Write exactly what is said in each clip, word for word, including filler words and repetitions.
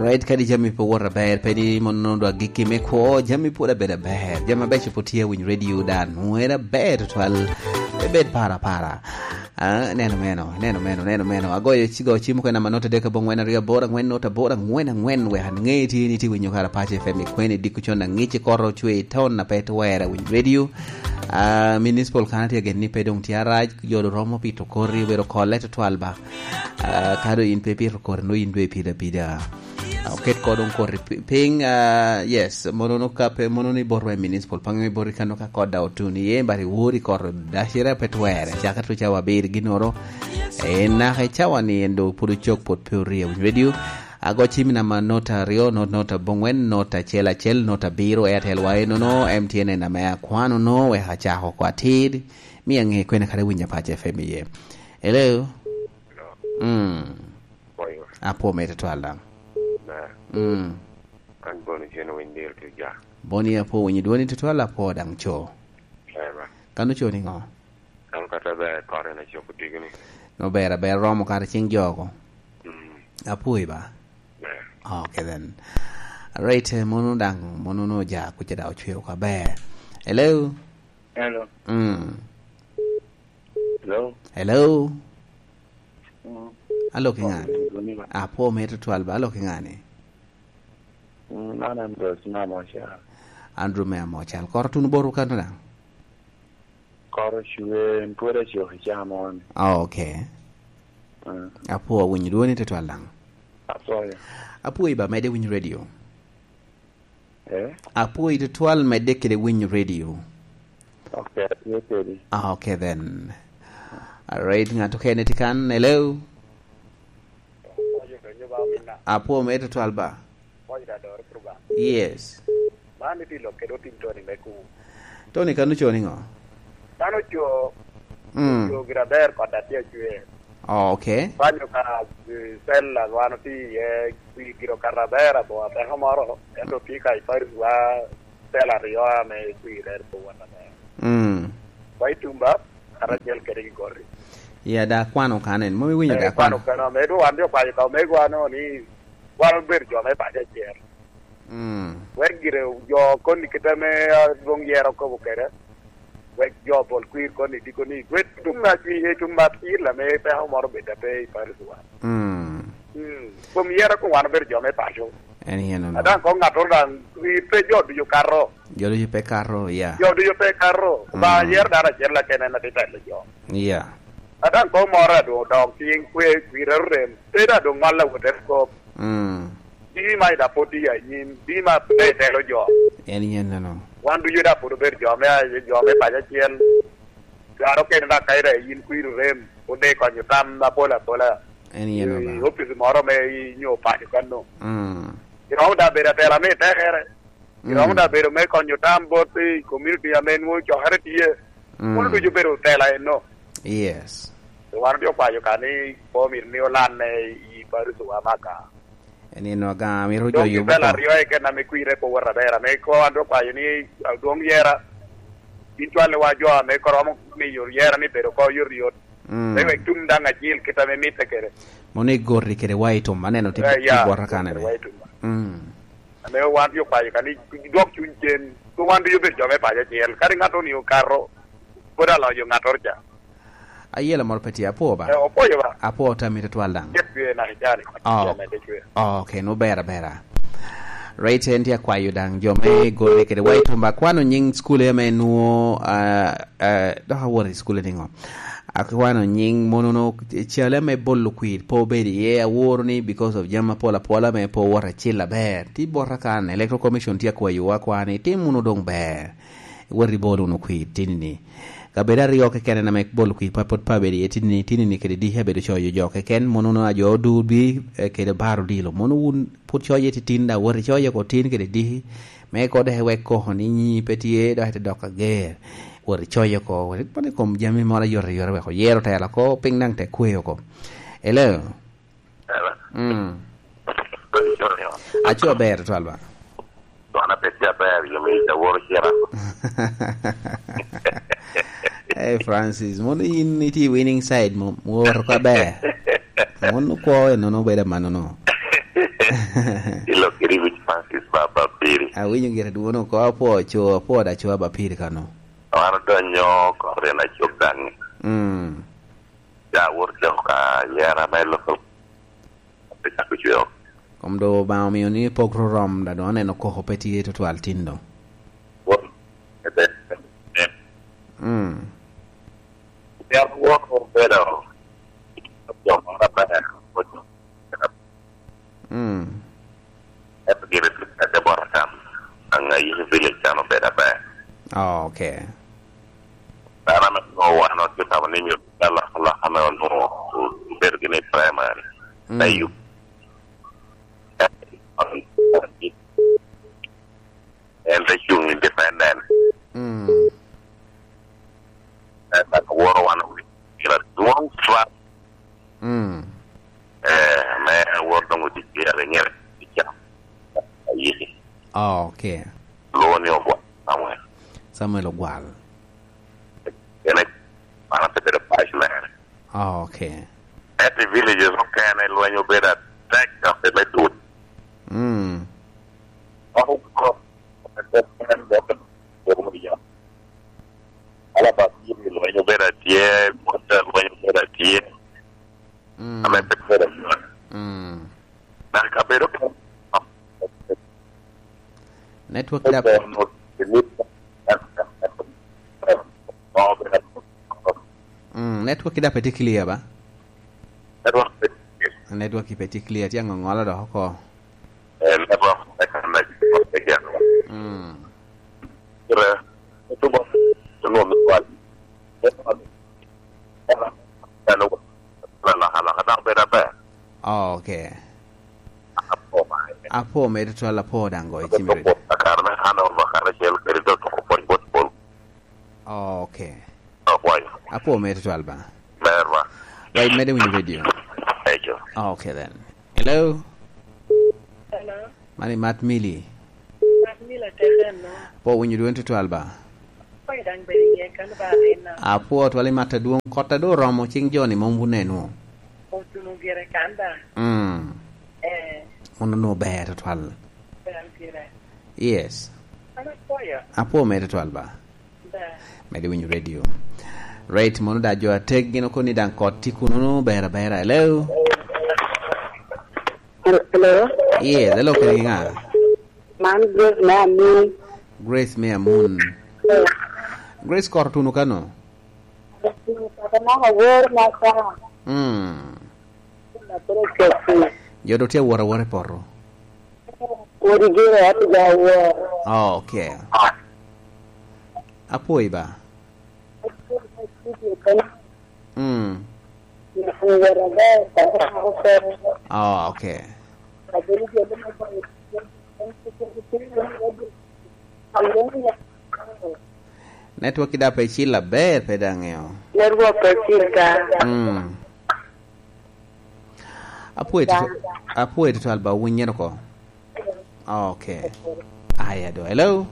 Right, kadi jami pe wot aber, pe ni mono dwa gikki me kwo, jami pwod abedo aber. Jami abeco pwod tye awiny radio da, nwera ber tutwal. Pe bed para para. Ah, neno meno, neno meno, neno meno. Agoyo ci-, go cim kwena manota dek abongwen aryo aboro angwen nota aboro angwen angwen, wek an ŋe ti ni ti winyo kara paco F M i kwene diko con angic i koro cwe i ton na pe twera winy radio. Ah, municipal kana tye agen ni pe dong tye arac, jo do romo pito kori, obedo kolle tutwal ba. Ah, ka do in pe pito kori, no in dwe pida pida. Ah, oket ko dong kori pi-, piny, ah, yes, mono no ka pe, mono ni botwa i municipal, pange mi boti kano ka koda otun iye, but i wori koro dacere pe twere, caka tu cawa abiri ginoro. Eh, naka i cawa ni en do pud ocok, pud pe orie winy radio. Ago cim namba nota aryo, not, nota abongwen, nota acel acel, nota abiro, Airtel wa enono, M T N en ame akwano no, wek acako oko atir, mi ange kwene kare winyo paco F M iye. Hello? Mm. Apwo me tutwal daŋ. Mm. An Boni Cen Owiny Diro tye ja. Boni apwo winyo dwoni tutwal, apwo daŋ co. Ema. Kan oco niŋo? An kata ber kore na coko tigi ni. No ber, aber romo kare cing jogo. Mm. Apwoyi ba? Ber. Okay then. Right, eh, mono daŋ, mono no ja kuca daŋ ocweo ka ber. Hello? Hello. Mm. Hello. Hello. Mm. Alo ki ŋani? Apwo me tutwal ba, alo ki ŋani? Mm, man Andrew Sina Mocal. Andrew me Amocal. Koro tun boru kan daŋ? Koro cwe, en pwod acok i caa moni. Ah, okay. Mm. Apwo, awinyo dwoni tutwal daŋ. Apwoyo. Apwoyo ba, mede winyo radio. Eh? Apwoyo tutwal, mede kede winyo radio. Okay, atye kedi. Ah, okay then. All right, ŋat okene tye kan, hello? Apwo me tutwal ba? Yes. Man itye lok kede otim Tony me kuŋ. Tony kan oco niŋo? Man oco, mm, oco gira ber kod atye acwer. Oh, okay. Banyo ka, eh, cell a wan otye iye, pi giro kata aber abo ateko moro, ento tye ka i Paris wa cell aryo ame kwir en po wan aber. Mm. Wa i Tumba, kata acel kede i Gori. Ya, da kwano kan en. Mom iwinyo, eh, da kwano. Kwano kan, ame dong wan jo kwayo ka omego ano ni wan obedo jo me paco acel. Mm. Wek gire jo koni kit ame, ah, dwong yero kobo kede. Wek jo bol kwir koni diko ni, "Gwed tum na cwi, eh, tum mat cil ame peko moro bed ape i Paris wa." Mm. Mm. Kom yero ko wan obedo jo me paco. En yen ono. Adaŋ ko ŋattoro daŋ kwir pe jo ducu kato. Jo ducu pe kato, ya. Jo ducu pe kato. Mm. Ba yero dano acel akene en ati telo jo. Ya. Adaŋ ko moro adwoŋ dok cing kwe kwir arem. Pe da dong ŋol awot en kop. Mm. Di ma ida pwod tye anyim, di ma pe telo jo. En yen neno. Wan ducu da pwod obedo jo me, jo me paco acel. Dwaro kene da ka ida yin kwiri rem, pwod de konyo tam apol apola. En yen i oba. Opic moro me i nyo paco kano. Mm. Iromo da bedo atela me tekere. Iromo, mm, da bedo me konyo tam bot i community ame nwoŋo cokere tye. Mm. Kono ducu bedo tela eno. Yes. Wan otye okwayo ka ni po myero ni olanne i Paris wa maka. En eno aga, myero jo yubo cell ko. Aryo eken ame kwire pe wot aber, ame ko an dok kwayo ni adwoŋ yera, gin cwalli wa jo ame ko romo miyo yera ni bedo ko yot yot. Mm. Me wek tum daŋ acil kit ame mitte kede. Mono igorri kede wa i tum, aneno ti, eh, ya, ti bwota ka nene. Wa i tum. Mm. Ame wan tye okwayo ka ni dwok cuny cen, pe wan ducu obedo jo me paco acel. Kadi ŋat onio kato, pwod aloyo ŋattoro ca. Ayela moro pe tye, apwo ba? Eh, opwoyo ba? Apwo tammi tutwal daŋ. Jet dwe naka icani, oh, icani, icani. Oh, okay, no ber abera. Right, en tye akwayo daŋ jo me gole kede wa i tum ba. Akwano nying school ame nwo, ah, ah, dok awoto i school niŋo? Akwano nying monono, cale me bolo kwir pe obedo iye, aworo ni because of jami apol apola me pe owoto acil aber. Ti bota kan, Electoral Commission tye akwayowa kwa ni, "Tim wunu doŋ ber. Wot ibol wunu kwir tinini." Kabedo aryo keken ame bolo kwir pa pwod pe abedo iye tinini, tinini kede diki abedo coyo jo keken, monono a jo odur bi, eh, kede bar odilo. Mono wun pwod coye titin, da wot icoye oko tin kede diki. Me ko dok iwek koko ni nyi pe tye, dok ite dok ager. Wot icoye oko, wot ipone i kom jami moro ayotoyot wek oyero tela oko, piny daŋ te kwe oko. Hello? Hello? Mm. Aco aber, twal ba. Wan ape tye aber, yo me aworo cira. Hey, Francis, mono in itye i winning side mo, woro ka ber. Mono kwo enono bedo amannono. Ilo kiri wic Francis Baba Piri. Awinyo gire dwono ko apwo co, apwo da co Baba Piri kano. Wan odonyo kore na cok daŋ. Mm. Ja wor jo ka yera me loko. Pe cako cweo. Kom do Obaŋa omio ni pok ro rom, da doŋ aneno koko pe tye tutwal tin doŋ. Wor, ebe, ebe. Mm. Yam wor obedo jo moro aber. Mm. Ento gire tye kede bot atam. Aŋa yiki village can obedo aber. Oh, okay. Dano ame nwoŋo wan otye tamo ni myero alok alok ame onwoŋo obedo gini i primary. Mm. Me yubo. En te cuŋ independent. Mm. En dok woro wan owinyo pira dwoŋ twal. Mm. Eh, me woro doŋ odic pira i nyere i cam. Ayiki. Oh, okay. Lwongo ni Ogwal Samuel. Samuel Ogwal. En e, an asebedo vice mayor. Oh, okay. Ento i villages okene lweny obedo atek, dok me dul. Mm. Oko, oko, oko, oko, oko, Alaba, lweny obedo atye, Bota lweny obedo atye. Mm. Ame pe bedo atye. Mm. Na kabedo ka Network da. Mm, network da pe tye clear ba? Network pe tye clear. Network pe tye clear, tye aŋoŋolo dok oko. Eh, network pe kan da pe geno. Mm. Kire, tubo, tubo mi kwal. Network. Alaka, alaka, dok bedo aber. Oh, okay. Apo, apo me tutwal, apo daŋ goyo cim i redio. Akar me handover karacel kede dok tuko pwony bot pol. Oh, okay. Apwoyo. Apo me tutwal ba. Ber ba. Ba imede winyo redio. Ejo. Oh, okay then. Hello. Hello. Mani Mat Mili. Mat Mili atek eno. Apo winyo dwon tutwal ba. Apo daŋ bedo iye kan ba arena. Apo twal imat adwoŋ, kot a doŋ oromo, cing joni mom wuneno. Otuno gire kan da. Mm. Eh. Mono no ber tutwal. Ber gire. Yes. An apwoyo. Apo mere tutwal ba. Ber. Mede winyo radio. Right, mono da jo atek gin okoni daŋ kot tye kuno no ber abera. Hello? Hello? Yes, hello, kene ŋa? Man Grace me Amun. Grace me Amun. Yeah. Grace, kor tuno kano? Papa mama wor ma sa. Mm. Papa kesi. Jo do tye awot awot i poto. Wodi gire ati ga wor. Oh, okay. Apwoyi ba. Mm. Oh, okay. Network da pe cil aber, pe daŋ ŋeo. Network pe cil ka. Mm. Apwoyo tutu-, apwoyo tutwal ba, winnyere oko. Okay. Aya do. Hello?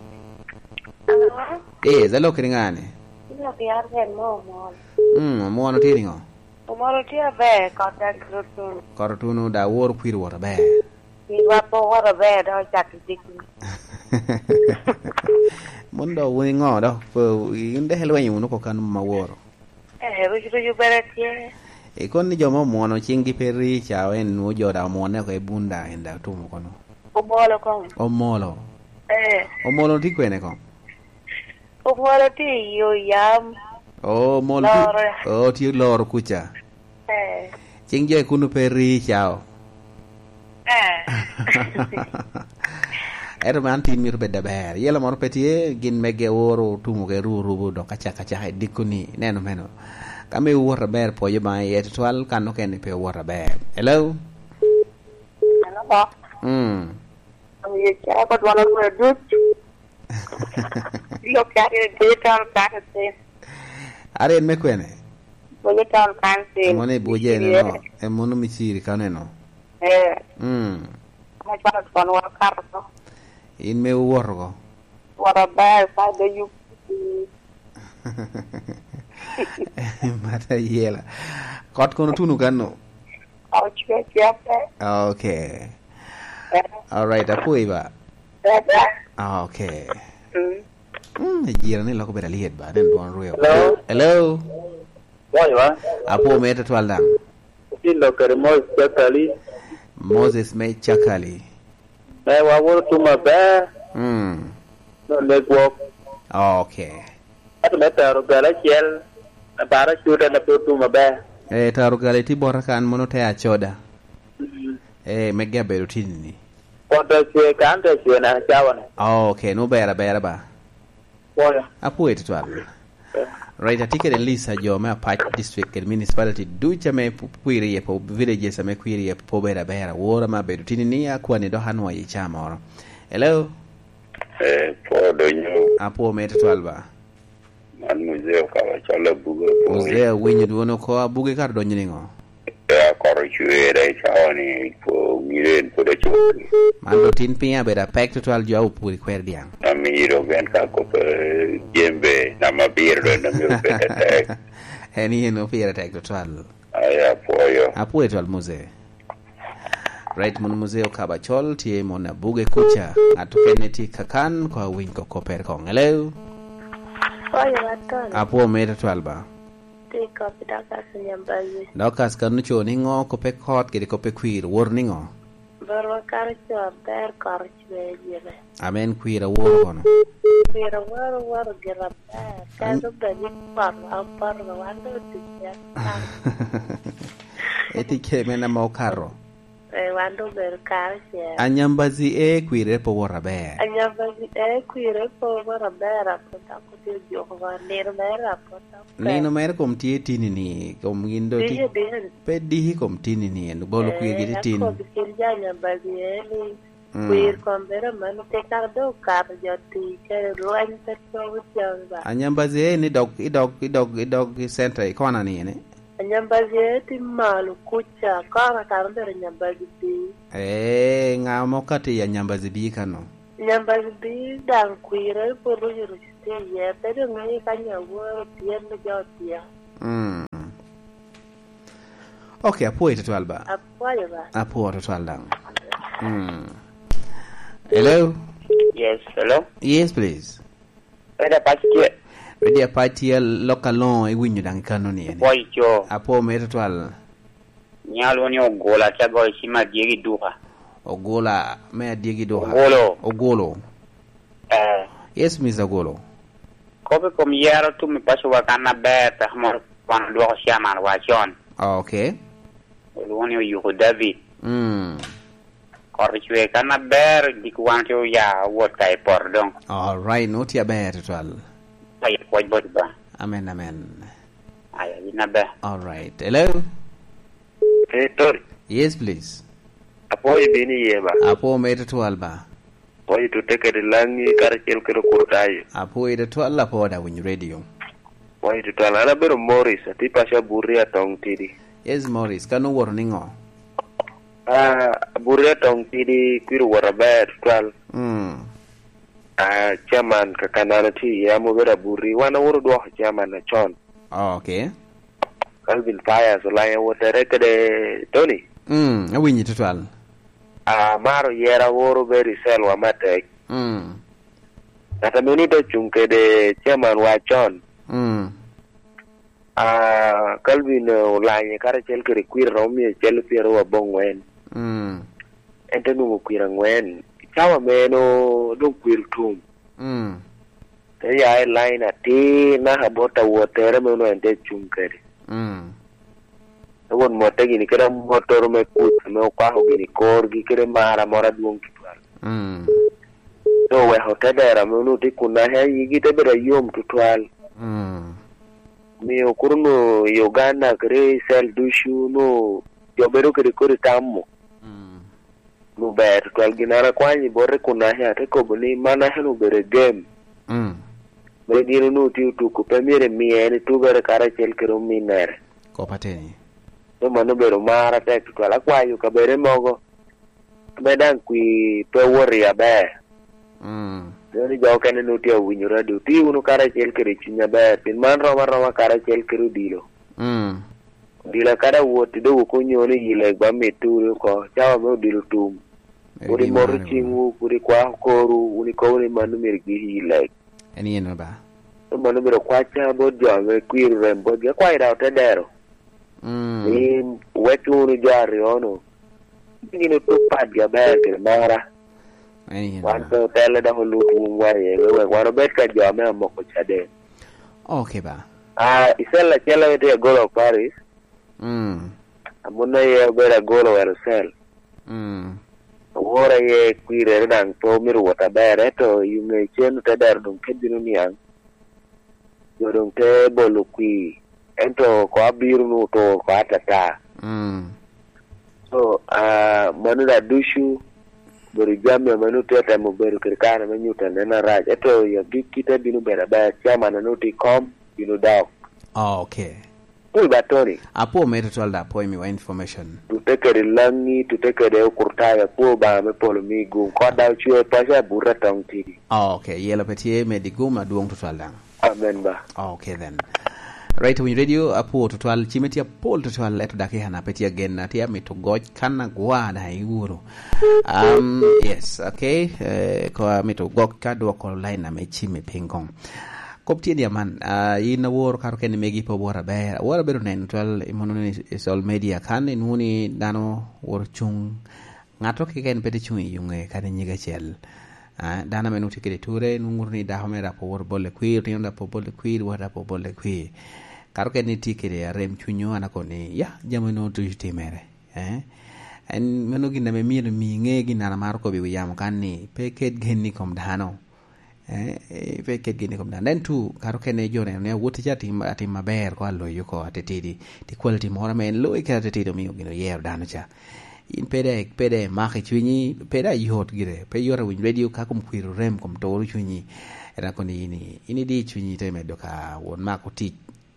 Hello? Yes, hello, kiri ŋani? Ina biar ren mo omol. Mm, omwono tye niŋo? Omol tye aber, kot daŋ kiro tuno. Kot otuno, da woro kwir wot aber. Kwir wa po wot aber, da ocak i diki. Mon do wun iŋo do? Po, in dek ilwenyo wunu oko kan ma woro. Eh, ruc ruc obere tye. Ikon ni jo ma omwono cinggi pe ri ca, en nwoŋo jo da omwone oko i bun da, en da otumo kono. Omolo koŋ. Omolo. Eh. Omolo tye kwene koŋ? Omolo tye i yo yam. Oh, omolo tye, loro. Oh, tye loro kuca. Eh. Cing jo i kunu pe ri ca o. Eh. Ento man tin mito bedo aber. Yela moro pe tye, gin mege oro tumo ke ru rubo dok acaka acaka i dikoni. Neno meno. Ka me wot aber, pwoyo Obaŋa iye tutwal, kan okene pe wot aber. Hello? Hello, Bob. Mm. Omiyo caa ko dwon olwe duc. Ilo kare digital kare tin. Are en me kwene? Digital kare tin. Mono i Buje neno, e mono Miciri ka neno. Eh. Mm. Ama cwalo twon wakato ko. In me wuwoto ko? Woro ber, sa de yup. Mata yela. Kot kono tuno kano? Ocwe cwete. Okay. Alright, apwoyi ba. Ah, okay. Mm. Mm, ejira ni loko bedo alyet ba, den dwon rweo. Hello? Hello? Pwoyo ba? Apwo me tutwal daŋ. Otin lok kede Moses Cakali. Moses me Cakali. Me waworo tum aber. Mm. No negwok. Okay. Ento me taro gala acel, abara cuta na pe otum aber. Eh, taro gala iti bota kan mono te acoda. Mm. Eh, mege abedo tini ni. Koto cwe kan te cwe na cawa ni. Oh, okay, no ber abera ba. Pwoyo. Apwoyo tutwal. Eh. Right, atye kede list a jo me Apac District kede Municipality duc ame pu-, kwir iye po, villages ame kwir iye po ber aber. Awora me abedo tini ni akwani dok anwoyo i ca moro. Hello? Eh, pwo donyo. Apwo me tutwal ba. Man muzee okawa calo abuge opwony. Muzee awinyo dwon oko, abuge kara odonyo niŋo? Eh, akoro cwera i cawa ni po mire en pwod acok. Man doŋ tin piny abedo apek tutwal jo a opwod i kwer dyaŋ. Amiro ben ka kop, eh, jembe, nama biro doŋ amiro bedo atek. En yen opire tek tutwal. Ai, apwoyo. Apwoyo twal muzee. Right, mono muzee okaba col, tye mono abuge kuca. Ŋat okene tye kakan, ko awiny ko koper koŋ. Hello? Apwoyo Watol. Apwo mere twal ba. Tye kop i Dorcas Nyambazi. Dorcas kan oco ni ŋo, kope kot kede kope kwir, wor ni ŋo? Barwa kara co aber, koro cwe jene. Amen, kwir aworo kono. Kwir aworo, woro gira aber. An- Kato bed ni poto, apoto, wan do otic ya. Eti ke men ame okato. Eh, wan do obedo kara ce. Anyambazi e kwire po woro aber. Anyambazi e kwire po woro aber, apot dok otye ojuko wa. Nino mere apot dok pe. Nino mere kom tye tini ni, kom gin do ti-, Dihi, dihi. Pe dihi kom tini ni, en bolo kwir giti tin. Eh, akobo kin ja Nyambazi e ni, Mm. Kwir kom bedo aman, tekara doŋ okato jo tic kede lweny pe twogo jami ba. Anyambazi e ni dog, idog, idog, idog i center i kona ni ene? Anyambazi e ti malo kuca, kona kara obedo Nyambazi bi. Eh, ŋa mo kati i Anyambazi bi kano? Nyambazi bi daŋ kwire pwod oruco tye iye, pe doŋ ŋeyo ka nyaworo tyen me jo tye. Mm. Ok, apwoyo tutwal ba. Apwoyo ba. Apwoyo tutwal daŋ. Mm. Hello? Yes, hello? Yes, please. Redi Apac tye. Redi Apac tye, lok aloŋo iwinyo daŋ i kano ni ene? Apwoyo co. Apwoyo mere tutwal. Nyalo ni Ogola, atye agoyo cim adyegi duka. Ogola me adyegi duka. Ogolo. Ogolo. Eh. Yes, Mister Ogolo. Kop i kom yero tum i paco wa kan aber, peko moro wan odwoko chairman wa con. Ah, okay. Olwongo ni Oyuko David. Mm. Kot ocwe kan aber, dik wan tye oya wot ka i poto doŋ. All right, no tye aber tutwal. Aye pwoc bot ba. Amen, amen. Aya, yin aber. All right. Hello? Hey, Tony. Yes, please. Apwoyo bino iye ba? Apwoyo mere tutwal ba. Apwoyo tute kede Laŋi karacel kede Okurtayo. Apwoyo tutwal, apwoyo da winyo radio. Apwoyo tutwal. An abedo Morris, atye paco Abuti Atong Tidi. Yes, Morris. Kan owoto niŋo? Ah, Abuti Atong Tidi kwir owoto aber tutwal. Mm. Ah, chairman ka, ka nano tye iye, amo bedo Abuti. Wan awoto dwoko chairman acon. Oh, okay. Calvin Pius Olanya Wotere kede Tony. Mm, awinyi tutwal. Ah, maro yera woro Berry Selwa matek. Mm. Ŋat ame nut ocuŋ kede chairman wa con. Mm. Ah, Calvin Olanya karacel kede kwir romo mia acel pyero abongwen. Mm. En te nwoŋo kwir angwen. Cawa meno doŋ kwir tum. Mm. Te ya i line atir naka bot awotere me onwoŋo en tye cuŋ kede. Mm. Te won motte gini kede amottoro me kuc ame okwako gini korgi kede mar amor adwoŋ tutwal. Mm. Te oweko te dero ame onwoŋo tye kun naka yigi te bedo ayom tutwal. Mm. Omio kuro onwoŋo i Uganda kede i cell ducu onwoŋo jo bedo kede kodi tamo. Mm. Luber tutwal gin an akwanyo i bote kun naka, ate kobo ni man naka-ni obedo game. Mm. Me gin onwoŋo tye otuko, pe myero imiye en etubere karacel kede ominnere. Kop ateni. Pe mano obedo mar atek tutwal. Akwayo kabere mogo, ame daŋ kwi pe wot i aber. Mm. Mio ni jo okene nwoŋo tye awinyo radio. Ti wunu karacel kede cuny aber, pien man rom aroma karacel kede odilo. Mm. Odilo kadi awot, dok okonyo ni yilo egwa mitte wunu oko, cawa me odilo tum. Pud imoto ciŋwu, pud ikwako korwu, wun ikobo ni mano myero igik i leg. En yen ba? Mano myero okwaca bot jo ame kwir orem botgi. Akwayo daŋ ote dero. Mm. Ni wek wunu jo aryo-nu. Gin otuk patgi aber kede mara. En yen ba? Wan pe otelle dok olut wun wa iye, me wek wan obed ka jo ame amoko caden. Ok ba? Ah, i cell acel ame tye agolo Paris. Mm. Amono aye obedo agolo wero cell. Mm. Aworo aye kwirere daŋ pe omito wot aber, ento i ŋe cen te dero doŋ te bino niaŋ. Jo doŋ te bolo kwir, ento ko abiro nu otur ko atata. Mm. So, ah, mano da ducu, bedo jami ame nu tye temo bedo kede kare me nyuto anena arac, ento i agikki te bino bedo aber, chairman ame nu tye i kom, bino dok. Oh, okay. Pol ba Tony. Apwo me tutwal da, apwo imiwa information. Tute kede Langi, tute kede Okurtayo, apwo Obaŋa me polo mi gum. Kot da ocwe paco abuto atong tidi. Oh, okay. Yelo pe tye me di gum adwoŋ tutwal daŋ. Amen ba. Okay then. Right, Winy Radio, apwo tutwal, cime tye apol tutwal, eto dakika na pe tye agen, atye amito goc kan agwa daŋ iwuro. Um, yes, okay. Eh, ko amito gok ka dwoko line ame cime piny kong. Kop tye ni aman, ah, in aworo kato kene megi pe oworo aber. Aworo abedo neno twal i mono ni i social media kan inwoŋo ni dano woro cuŋ. Ŋato keken pe tye cuŋ i yuŋe kadi nyige acel. Ah, dano ame nwoŋo tye kede ture, nwoŋo ŋuto ni dako me rap oworo bole kwir, otino rap obole kwir, wot rap obole kwir. Kato kene ni tye kede arem cunywu, an akobo ni, ya, jami nwoŋo ducu timere. Eh? En mano gin ame myero mi ŋe gin an amaro kobo i wi yamo kan ni, pe ket gen i kom dano. Eh, eh, pe ket gen i kom dano. Then too, kato kene jo neno ni awot ca atim, atim aber ko aloyo ko atitidi. Ti quality moro ame en loyo kede atitidi omio gin oyero dano ca. In pe de, pe de imako i cunyi, pe de ayot gire. Pe yot awiny radio ka kom kwir orem, kom turo cunyi. En akoni in, in idi i cunyi te medo ka wot mako tic.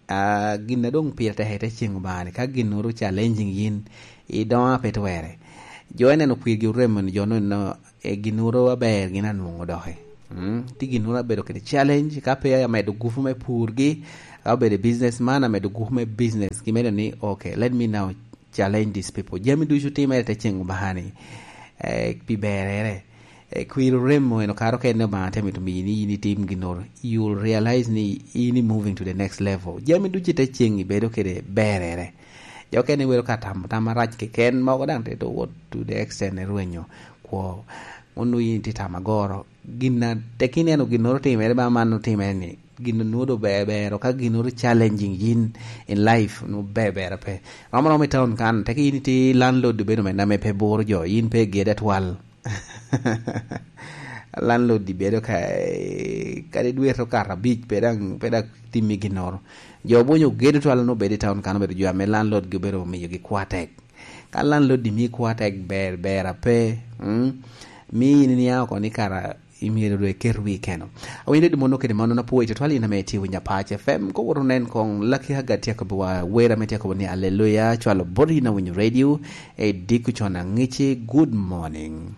Ah, gin a doŋ pire tek i te ceŋ Obaŋa ni, ka ginnoro challenging yin, idoŋo a pe twere. Jo ineno kwirgi oremo ni jo nonno, eh, ginnoro aber gin anwoŋo doki. Mm, ti ginnoro abedo kede challenge, ka pe amedo gupu me purgi, ka obedo business man amedo gupu me business, gimedo ni, "Okay, let me now challenge these people." Jami ducu timere i te ceŋ Obaŋa ni, eh, pi berere. Eh, kwir oremo en okaro kene Obaŋa te mito miyi ni in itim ginnoro. You will realize ni in i moving to the next level. Jami ducu i te ceŋ ibedo kede berere. Jo okene iwero ka tamo tam arac keken, mogo daŋ te to wot to the extent ni rwenyo kwo. Onwo in itye tamo agoro. Gin a tek ineno ginnoro timere ba man otimere ni, gin onwo do ber ber, ka ginnoro challenging yin in life, onwo ber ber pe. Rom rom i town kan, tek in itye landlord obedo mene ame pe buro jo, in pe gede atwal. Landlord bedo ka, eh, kadi dwe to kato abic, pe daŋ, pe daŋ timmi ginnoro. Jo bunyo gedo twal onwo bedo i town kan, obedo jo ame landlord gi obedo omiyogi kwa tek. Ka landlord mii kwa tek ber, ber ape, mm, mi in iniaŋ oko ni kara imyero dwe iket wi keno. Awinyo dede mono kede mano na pwoyo tutwal in ame itye winyo Apac F M. Ko wot onen kong Lucky Haga tye akobo wa wer ame tye akobo ni, "Aleluya, cwalo bot in awinyo radio, e diko con aŋici, good morning."